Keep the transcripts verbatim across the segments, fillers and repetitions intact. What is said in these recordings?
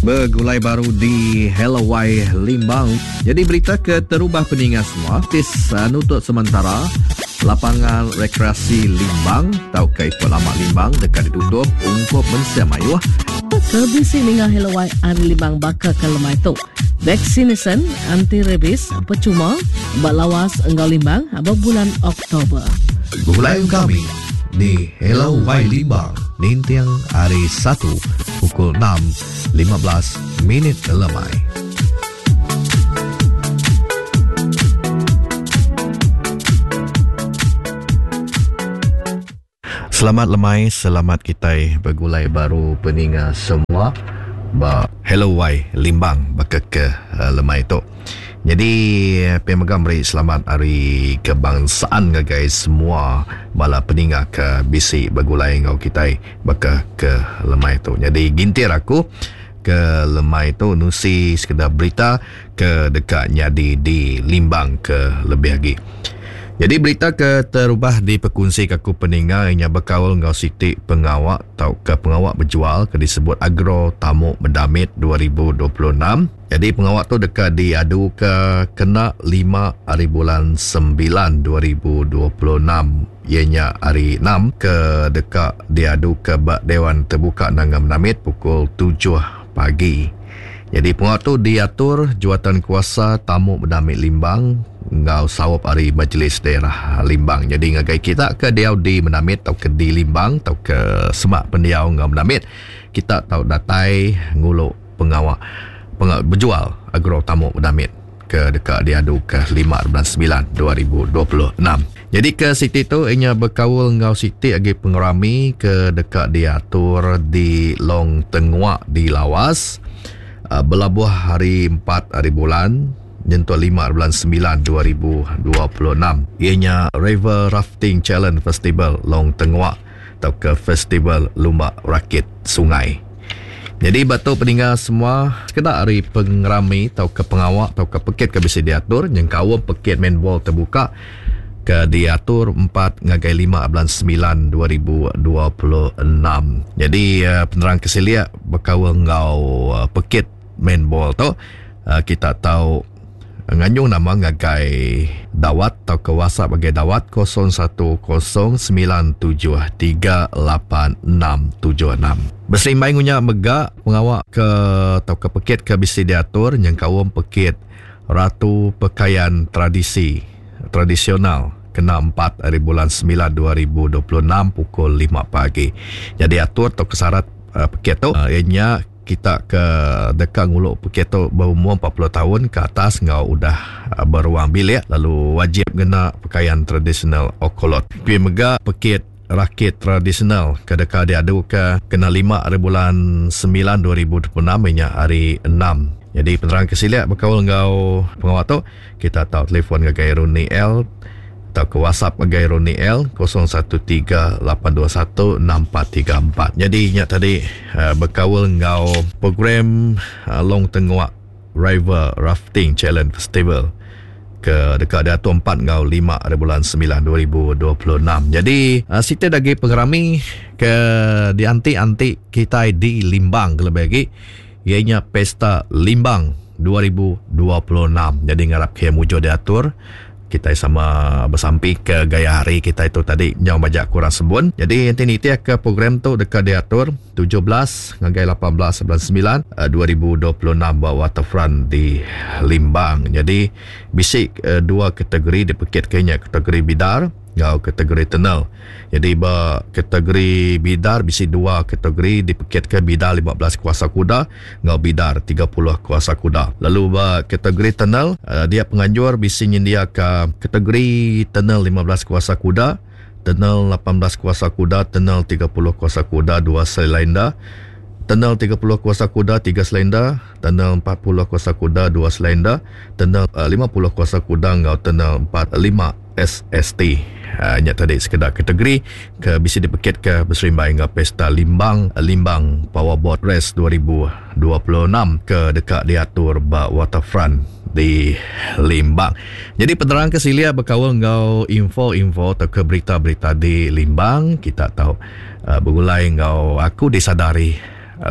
Begulai baru di Hello Y Limbang. Jadi berita ke terubah peningat semua. Tis uh, nutut sementara lapangan rekreasi Limbang tau ke ikut lama Limbang dekat ditutup ungkup mensia mayuh. Kebisi ninga Hello Y Ari Limbang baka ke lemai tu. Vaccination anti rabies percuma bak lawas enggau Limbang bulan Oktober. Begulai kami di Hello Y Limbang ninting hari satu pukul enam lima belas minit lemai. Selamat lemai, selamat kita bergulai baru peninga semua ba Hello Y Limbang baka ke uh, lemai tu. Jadi pemegang beri selamat hari kebangsaan ngagai semua bala peninga ke bisi bergulai ngau kita baka ke lemai tu. Jadi gintir aku ke lemai tu nusi sekedar berita ke dekat nyadi di Limbang ke lebih lagi. Jadi berita ke terubah di perkongsi aku peninga inya berkaul ngau siti pengawak atau ke pengawak berjual ke disebut Agro Tamu Medamit dua ribu dua puluh enam. Jadi pengawak tu dekat diadu ke kena lima hari bulan sembilan dua ribu dua puluh enam. Ianya hari enam ke dekat diadu ke bak Dewan Terbuka Nanga Medamit pukul tujuh pagi. Jadi pengawak tu diatur Jawatan Kuasa Tamu Medamit Limbang ngau sawap hari Majlis Daerah Limbang. Jadi ngagai kita ke diau di Medamit atau ke di Limbang atau ke semak pendiau ngau Medamit, kita tau datai nguluk pengawak pengawak berjual Agro Tamu Medamit ke dekat diadu ke lima bulan sembilan dua ribu dua puluh enam. Jadi ke siti tu inya berkaul ngau siti agi pengerami ke dekat diatur di Long Tenguak di Lawas. Uh, berlabuh hari empat hari bulan nyentuh lima bulan sembilan dua ribu dua puluh enam. Ianya River Rafting Challenge Festival Long Tenguak atau ke Festival Lumba Rakit Sungai. Jadi batu peninggal semua sekedar hari pengerami atau ke pengawak atau ke pekit ke bisa diatur nyengkawam pekit main ball terbuka ke diatur empat ngagai lima bulan sembilan dua ribu dua puluh enam. Jadi uh, penerang kesilia berkaul ngau uh, pekit main ball tu uh, kita tahu nganyung nama ngagai dawat atau ke WhatsApp bagi dawat kosong satu kosong sembilan tujuh tiga lapan enam tujuh enam. Berserimbai ngunya megak pengawak ke atau ke pekit ke bisi diatur nyengkawam pekit Ratu Pekaian Tradisi Tradisional kena empat hari bulan sembilan dua ribu dua puluh enam pukul lima pagi. Jadi atur atau kesarat uh, pekit tu uh, ianya kita ke dekat nguluk pekit tu berumur empat puluh tahun ke atas ngau udah beruang bilik lalu wajib kena pakaian tradisional okolot. Pi mega pekit rakit tradisional ke dekat diadu ke kena lima hari bulan sembilan dua ribu dua puluh enam ianya hari enam. Jadi penerang kesiliak berkaul ngau pengawak tu kita tahu telefon ngagai Roni L atau ke WhatsApp ngagai Roni L kosong satu tiga lapan dua satu enam empat tiga empat. Jadi ingat tadi uh, berkaul ngau program uh, Long Tenguak River Rafting Challenge Festival ke dekat diatur empat ngau lima hari bulan sembilan dua ribu dua puluh enam. Jadi uh, sita lagi pengerami ke dianti-anti kita di Limbang lebih lagi ianya Pesta Limbang dua ribu dua puluh enam. Jadi ngarap ke mujur diatur. Kita sama bersampi ke gaya hari kita itu tadi nyau bajak kurang sebun. Jadi nanti ni ke program tu dekat diatur tujuh belas ngagai lapan belas bulan sembilan dua ribu dua puluh enam buat waterfront di Limbang. Jadi bisik dua kategori dipekit kenya kategori bidar ngau kategori tunnel. Jadi ba kategori bidar bisi dua kategori dipekit ke bidar lima belas kuasa kuda ngau bidar tiga puluh kuasa kuda. Lalu ba kategori tunnel dia penganjur bisi nyendia ke kategori tunnel lima belas kuasa kuda, tunnel lapan belas kuasa kuda, tunnel tiga puluh kuasa kuda dua silinder, tunnel tiga puluh kuasa kuda tiga silinder, tunnel empat puluh kuasa kuda dua silinder, tunnel lima puluh kuasa kuda ngau tunnel empat lima S S T. Uh, nya tadi sekedar kategori ke bisi dipekit ke berserimbai dengan Pesta Limbang Limbang Powerboat Race dua ribu dua puluh enam ke dekat diatur ba waterfront di Limbang. Jadi penerang ke silia berkaul ngau info-info atau ke berita-berita di Limbang kita tahu uh, bergulai ngau aku disadari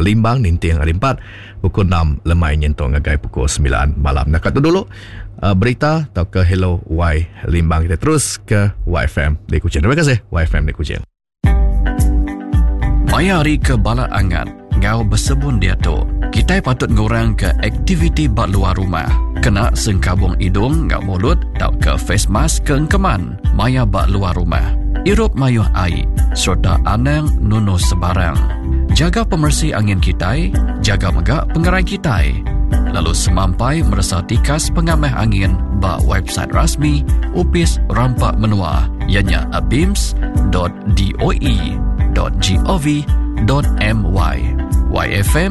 Limbang ninting hari empat pukul enam lemai nyentuk ngagai pukul sembilan malam. Nak tu dulu uh, berita atau ke Hello Y Limbang, kita terus ke Y F M di Kuching. Terima kasih Y F M di Kuching. Maya hari ke bala angat ngau bersebun dia tu. Kita patut ngurang ke aktiviti bak luar rumah. Kena sengkabung hidung ngau mulut tau ke face mask ke engkeman maya bak luar rumah. Irup mayuh air serta anang nunu sebarang. Jaga pemersi angin kitai, jaga megak pengerai kitai. Lalu semampai merasa tikas pengamah angin bak website rasmi Upis Rampak Menua ianya abims dot d o e dot g o v dot m y. Y F M